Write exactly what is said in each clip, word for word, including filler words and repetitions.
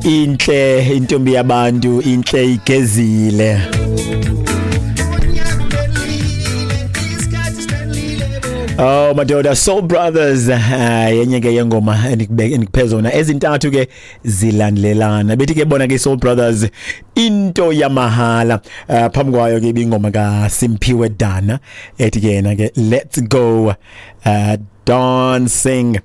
Intle intombi yabantu, intle igezile. Oh madoda, Soul Brothers, yenye ke yengoma endikuphe zona ezintathu ke zilandelelana. Bethi ke bona ke Soul Brothers into yamahala. Uh, phambi kwayo ke ibingoma ka Simphiwe Dana ethi ke yena ke Let's Go uh, Dancing.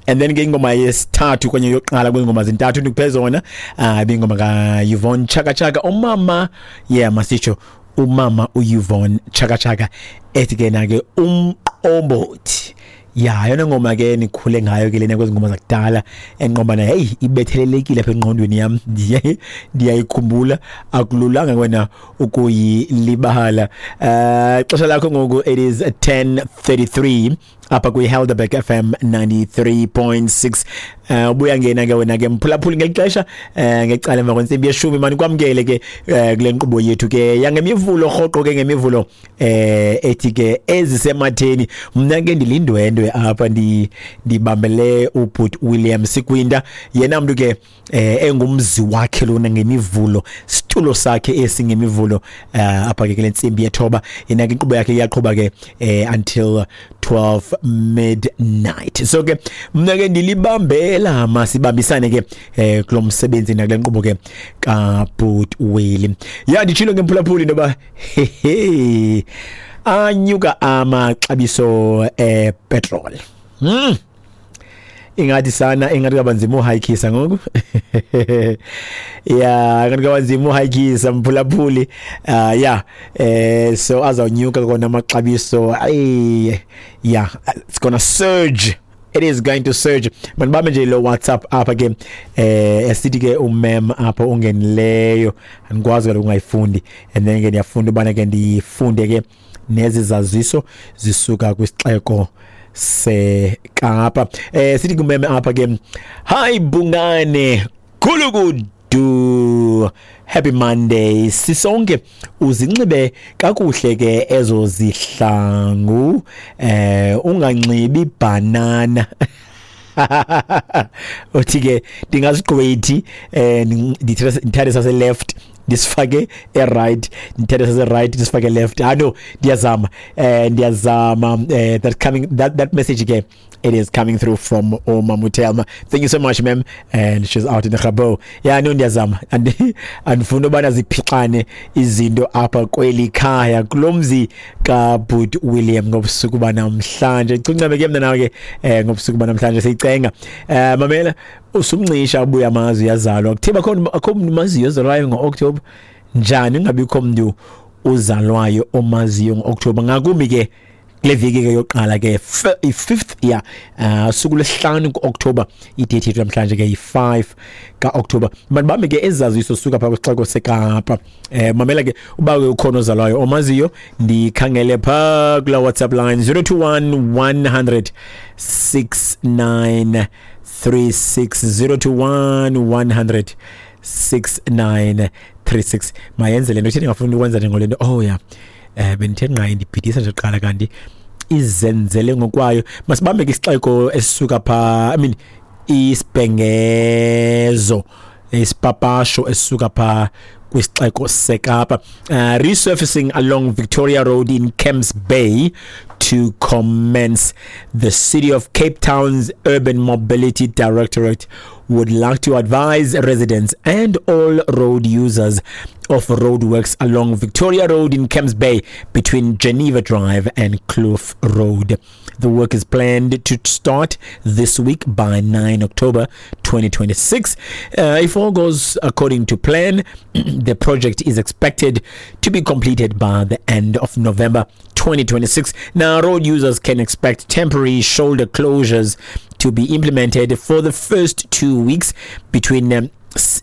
And then ke ingoma yesithathu kwenye yokuqala kwengoma zintathu ndikuphe zona uh, ibingoma ka Yvonne Chaka Chaka, umama, yeah masitsho umama uYvonne Chaka Chaka ethi ke na ke umqombothi. Ya yona ngoma ke nikhule ngayo ke lena kwezingoma zakudala enqoba na hey ibethelelekile apha engqondweni yam, ndiyayikhumbula, akululanga wena ukuyilibala. Eh xesha lakho ngoku it is ten thirty-three apha kwi Helderberg F M ninety-three point six. Eh ubuya ngena ke wena ke mphulaphuli ngelixesha eh ngecala emva kwentsimbi yeshumi mani kwamkele ke kule nkqubo yethu ke yangemivulo rhoqo ke ngemivulo eh ethi ke ezisematheni. Mna ke ndilindwendwe apha ndibambele uBhut William Sikwinda, yena mntu ke engumzi wakhe lona ngemivulo, situlo sakhe esingemivulo apha ke kule ntsimbi yethoba. Yena ke inkqubo yakhe iyaqhuba ke until twelve midnight. So ke mna ke ndilibambela masibambisane ke eh kulo msebenzi nakule nkqubo ke kaBhut Willie. Ya nditshilo ke mphulaphuli intoba hehe anyuka amaxabiso e petrol. Mm. Ingathi sana ingathi kabanzima uhayikisa ngoku. Yeah, ingathi kabanzima uhayikisa mphulaphuli. Uh yeah, eh so azawunyuka kona amaxabiso. Ay yeah, it's gonna surge. It is going to surge. Manibambe nje lo WhatsApp apha ke eh esithi ke umem apha ungenileyo andikwazi kaloku ungayifundi, and then ke ndiyafunda ubana ke ndifunde ke nezi zaziso zisuka kwisixeko seKapa. Eh sithi kumeme apha ke, hi Bungane Gulukudu, happy Monday sisonke, uzinxibe kakuhle ke ezo zihlangu, eh unganxibi banana. Uthi ke ndingazigqwethi eh ndithathe sase left ndisifake e right, ndithathe sase right ndisifake left. Ah no, ndiyazama eh ndiyazama eh that coming that that message ke it is coming through from Oma Mutelma. Thank you so much ma'am, and she's out in the Gabo. Yeah no, ndiyazama and andifuna ubana ziphixane izinto apha kweli khaya kulomzi kaBhut William ngobusuku banamhlanje. Cuncame ke mna nawe ke eh ngobusuku banamhlanje siyicenga. Eh mamela usumncisha ubuya amazwi yazalwa kuthiba khona akho umuntu maziyo ozalwayo ngo-October. Njani ungabikho umuntu uzalwayo omaziyo ngo-October, ngakumbi ke kule viki ke yokuqala ke i-fifth yeah uh suku lesihlanu ku-October, i-date yethu namhlanje ke yi-five ka-October. Manibambe ke ezaziso suka pha kwisixeko seKapa. Eh mamela ke uba ke ukhona ozalwayo omaziyo, ndikhangele pha kula WhatsApp line zero two one one hundred six nine three six, zero two one one hundred six nine three six. Mayenze le nto itheni ngafuni ukwenza nje ngole nto. Oh yeah, eh bendithe nqa ndibhidisa nje kuqala kanti izenzele ngokwayo. Masibambe ke isixeko esisuka pha, I mean isibhengezo isipapasho esisuka pha kwisixeko seKapa. Uh, resurfacing along Victoria Road in Camps Bay to commence. The City of Cape Town's Urban Mobility Directorate would like to advise residents and all road users of roadworks along Victoria Road in Camps Bay between Geneva Drive and Kloof Road. The work is planned to start this week by nine October twenty twenty-six. Uh, if all goes according to plan, the project is expected to be completed by the end of November twenty twenty-six. Now, road users can expect temporary shoulder closures to be implemented for the first two weeks between um,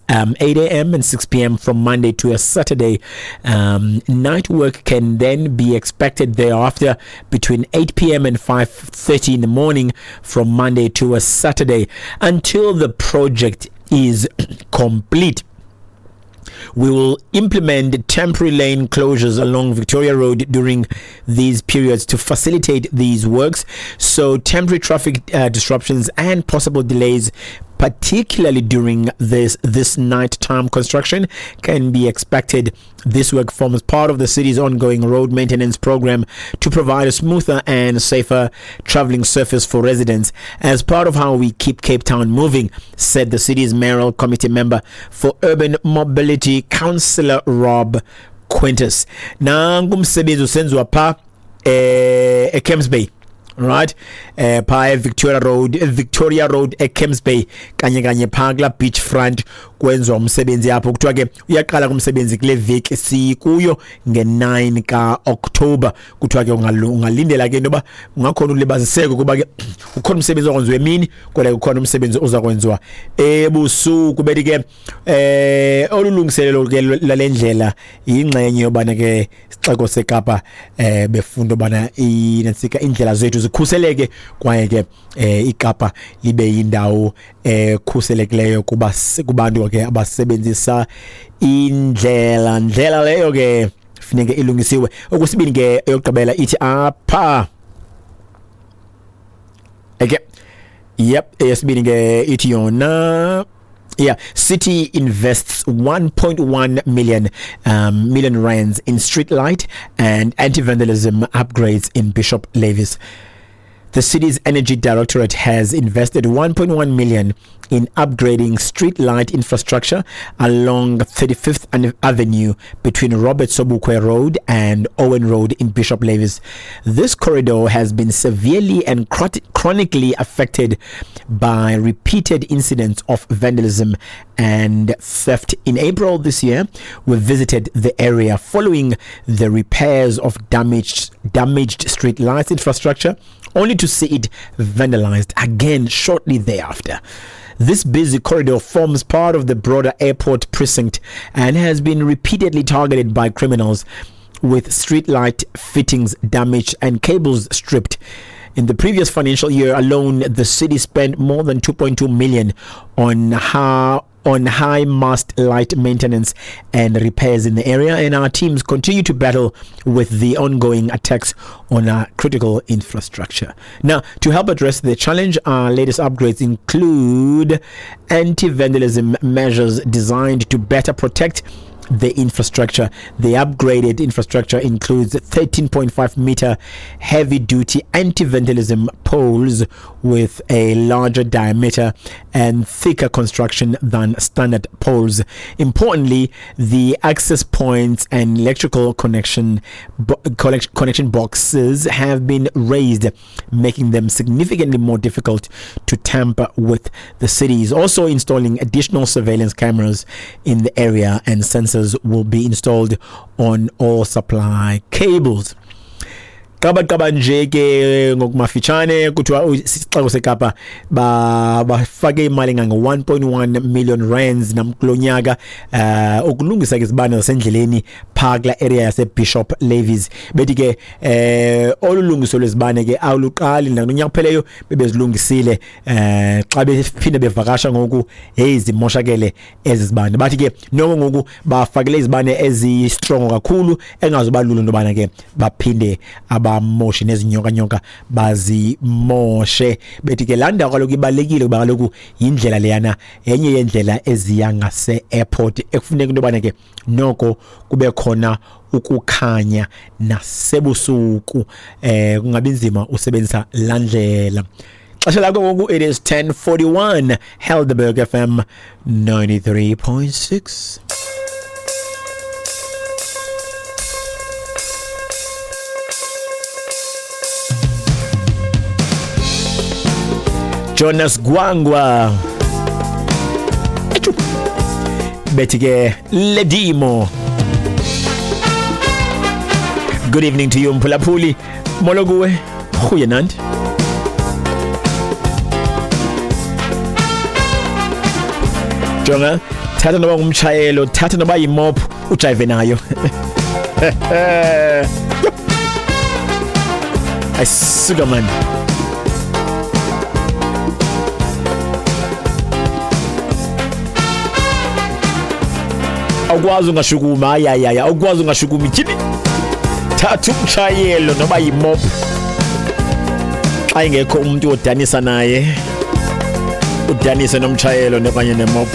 Um, eight a.m. and six p.m. from Monday to a Saturday. Um, night work can then be expected thereafter between eight p.m. and five thirty in the morning from Monday to a Saturday until the project is complete. We will implement temporary lane closures along Victoria Road during these periods to facilitate these works. So temporary traffic uh, disruptions and possible delays particularly during this this nighttime construction, can be expected. This work forms part of the city's ongoing road maintenance program to provide a smoother and safer traveling surface for residents as part of how we keep Cape Town moving, said the city's mayoral committee member for urban mobility, Councillor Rob Quintus. Nangu umsebenzi usenziwa pha eh eCamps Bay, right, eh pha Victoria Road, Victoria Road eCamps Bay, kanye kanye pha kula beach front kwenziwa umsebenzi apho. Kuthiwa ke uyaqala kumsebenzi kule veki sikuyo nge nine ka October. Kuthiwa ke ungalindela ke intoba ungakhona ulibaziseko kuba ke ukhona umsebenzi okwenziwa emini, kodwa ukhona umsebenzi ozakwenziwa ebusuku. Bethi ke eh olulungiselelo ke lalendlela ingxenye yobana ke isixeko seKapa eh befunda bana intsika indlela zethu zikhuseleke, kwaye ke eh iKapa libe yindawo ekhuselekileyo kuba kubantu ke abasebenzisa indlela. Ndlela leyo ke funeke ilungisiwe. Okwesibini ke, eyokugqibela ithi apha, okay, yep, eyesibini ke ithi yona, yeah, city invests one point one million um, million rands in street light and anti-vandalism upgrades in Bishop Lavis. The city's energy directorate has invested one point one million in upgrading street light infrastructure along thirty-fifth Avenue between Robert Sobukwe Road and Owen Road in Bishop Lavis. This corridor has been severely and chronically affected by repeated incidents of vandalism and theft. In April this year, we visited the area following the repairs of damaged damaged street lights infrastructure, only to see it vandalized again shortly thereafter. This busy corridor forms part of the broader airport precinct and has been repeatedly targeted by criminals, with streetlight fittings damaged and cables stripped. In the previous financial year alone, the city spent more than two point two million on how on high mast light maintenance and repairs in the area, and our teams continue to battle with the ongoing attacks on our critical infrastructure. Now, to help address the challenge, our latest upgrades include anti-vandalism measures designed to better protect the infrastructure. The upgraded infrastructure includes thirteen point five meter heavy duty anti vandalism poles with a larger diameter and thicker construction than standard poles. Importantly, the access points and electrical connection bo- connection boxes have been raised, making them significantly more difficult to tamper with. The city is also installing additional surveillance cameras in the area, and sensors will be installed on all supply cables. Qaba qaba nje ke ngokumafitshane, kuthiwa isixeko seKapa bafake imali engange one point one million rands namkulonyaka uh ukulungisa ke izibane zasendleleni phaa kula area yase Bishop Lavis. Bethi ke eh olulungiso lwezibane ke awuluqali nakunyaka kupheleyo, bebezilungisile. eh xa bephinde bevakasha ngoku, hey, zimoshakele ezi zibane. Bathi ke noko ngoku bafakele izibane ezi strong kakhulu engazoba lula into yobana ke baphinde abamoshe nezinyoka nyoka bazimoshe. Bethi ke laa ndawo kaloku ibalulekile kuba kaloku yindlela leyana, yenye yendlela eziya ngase airport ekufuneka into yobana ke noko kube khona ukukhanya nasebusuku, eh kungabi nzima usebenzisa laa ndlela. Xesha lakho ngoku, it is ten forty-one, Helderberg F M ninety-three point six. Jonas Gwangwa bethi ke Ledimo. Good evening to you, mphulaphuli. Molo kuwe, goeienaand. Jonga, thatha noba ngumtshayelo, thatha noba yimop, ujayive nayo. Ayisuka man. Awukwazi ungashukumi, hayi hayi, awukwazi ungashukumi. Tyhini, thatha umtshayelo noba yimop xa ingekho umuntu odanisa naye. Udanise nomtshayelo okanye nemop.